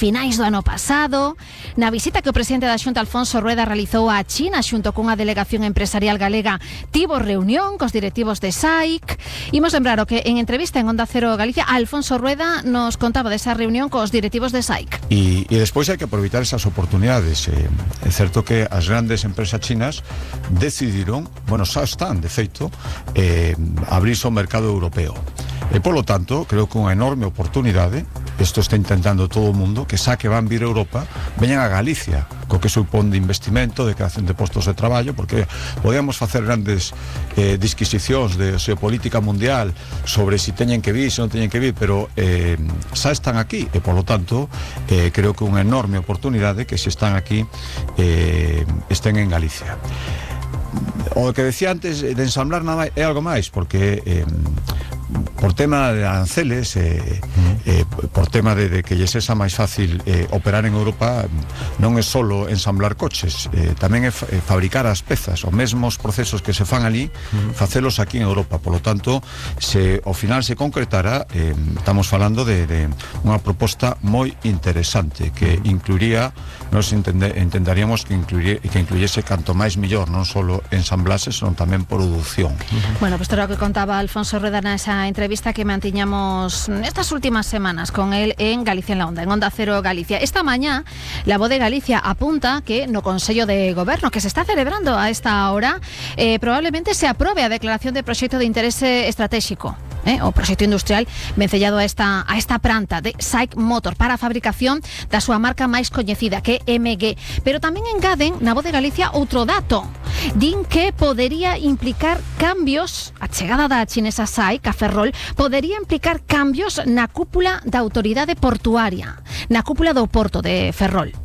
finais do ano pasado, na visita que o presidente da Xunta Alfonso Rueda realizou a China xunto cunha delegación empresarial galega, tivo reunión cos directivos de SAIC. Imos lembrar o que en entrevista en Onda Cero Galicia Alfonso Rueda nos contaba desa reunión cos directivos de SAIC. E despois hai que aproveitar esas oportunidades. É certo que as grandes empresas chinas decidiron, bueno, xa están de feito, abrirse ao mercado europeo. E polo tanto, creo que unha enorme oportunidade, isto está intentando todo o mundo, que xa que van vir a Europa, veñan a Galicia, co que supón de investimento, de creación de postos de traballo, porque podíamos facer grandes disquisicións de xeopolítica mundial sobre si teñen que vir, se non teñen que vir, pero xa están aquí, e polo tanto creo que unha enorme oportunidade que se están aquí estén en Galicia. O que decía antes de ensamblar nada é algo máis, porque por tema de aranceles, por tema de que lles sexa máis fácil operar en Europa, non é solo ensamblar coches, tamén é fabricar as pezas, os mesmos procesos que se fan ali, facelos aquí en Europa. Por lo tanto, se ao final se concretara, estamos falando de unha proposta moi interesante que incluiría, nos entenderíamos que incluyese canto máis millor, non solo ensamblases, senón tamén produción. Bueno, pues era o que contaba Alfonso Rueda nesa entrevista que mantiñamos estas últimas semanas con él en Galicia en la Onda, en Onda Cero Galicia. Esta mañá, la Voz de Galicia apunta que no Consello de Goberno que se está celebrando a esta hora, probablemente se aprobe a declaración de proxecto de interese estratégico, o proxecto industrial vencellado a esta planta de SAIC Motor para a fabricación da súa marca máis coñecida, que é MG. Pero tamén engaden na Voz de Galicia outro dato. Din que podería implicar cambios, a chegada da chinesa SAIC a Ferrol podería implicar cambios na cúpula da autoridade portuaria, na cúpula do porto de Ferrol.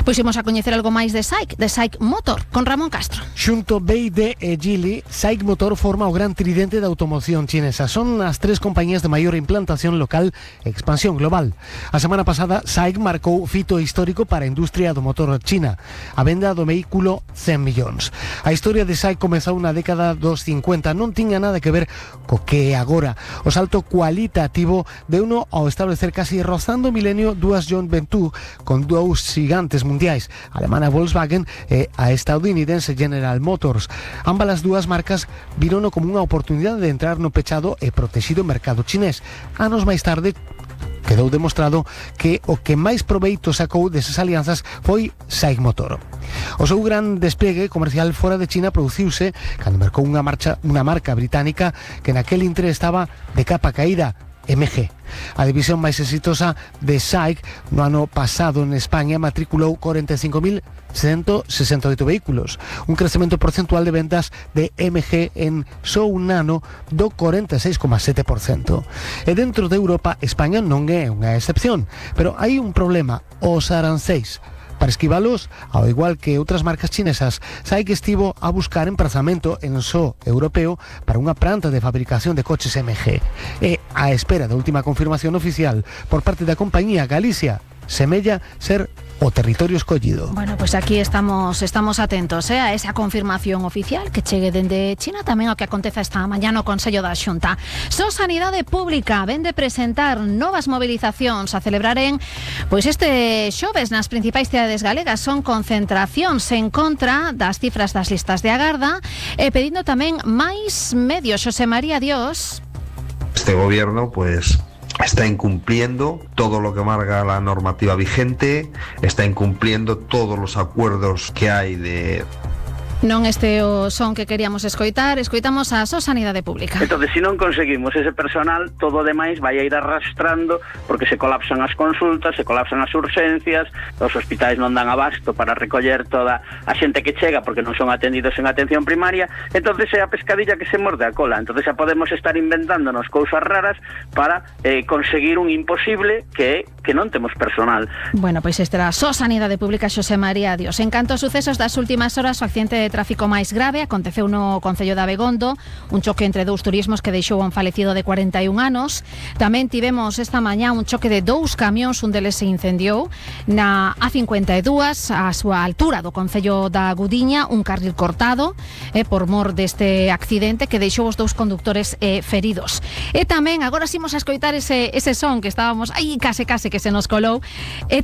Pois imos a coñecer algo máis de SAIC Motor, con Ramón Castro. Xunto BYD e Geely, SAIC Motor forma o gran tridente da automoción chinesa. Son as tres compañías de maior implantación local e expansión global. A semana pasada, SAIC marcou fito histórico para a industria do motor china, a venda do vehículo 100 millóns. A historia de SAIC comezou na década dos 50, non tiña nada que ver co que é agora. O salto cualitativo de uno ao establecer casi rozando o milenio dúas joint venture con dous gigantes mundiais, a alemana Volkswagen e a estadounidense General Motors. Ambas as dúas marcas virono como unha oportunidade de entrar no pechado e protegido mercado chinés. Anos máis tarde quedou demostrado que o que máis proveito sacou desas alianzas foi SAIC Motor. O seu gran despliegue comercial fora de China produciuse cando mercou unha marca británica que naquel intre estaba de capa caída, MG. A división máis exitosa de SAIC no ano pasado en España matriculou 45.168 vehículos, un crecemento porcentual de ventas de MG en só un ano do 46,7%. E dentro de Europa, España non é unha excepción, pero hai un problema, os aranceis. Para esquivalos, ao igual que outras marcas chinesas, SAIC estivo a buscar emprazamento en só europeo para unha planta de fabricación de coches MG. E, á espera da última confirmación oficial por parte da compañía Galicia, semella ser o territorio escollido. Bueno, pues aquí estamos atentos a esa confirmación oficial que chegue dende China, tamén ao que aconteza esta mañá no Consello da Xunta. Sanidade Pública vende presentar novas movilizacións a celebraren pois este xoves nas principais cidades galegas. Son concentracións en contra das cifras das listas de agarda e pedindo tamén máis medios. Xosé María Dios. Este gobierno, pues, está incumpliendo todo lo que marca la normativa vigente, está incumpliendo todos los acuerdos que hay de... Non este o son que queríamos escoitar, escoitamos a Sanidade Pública. Entonces, se non conseguimos ese personal, todo o demais vai a ir arrastrando, porque se colapsan as consultas, se colapsan as urxencias, os hospitais non dan abasto para recoller toda a xente que chega porque non son atendidos en atención primaria. Entonces é a pescadilla que se morde a cola. Entonces xa podemos estar inventándonos cousas raras para conseguir un imposible que é que non temos personal. Bueno, pois esta era Sanidade Pública, Xosé María Dios. En canto aos sucesos das últimas horas, o accidente de tráfico máis grave aconteceu no concello de Abegondo, un choque entre dous turismos que deixou un falecido de 41 anos. Tamén tivemos esta mañá un choque de dous camións, un deles se incendiou na A52, a súa altura do concello da Gudiña, un carril cortado por mor deste accidente que deixou os dous condutores feridos. E tamén, agora imos a escoitar ese son que estábamos aí case que se nos colou, e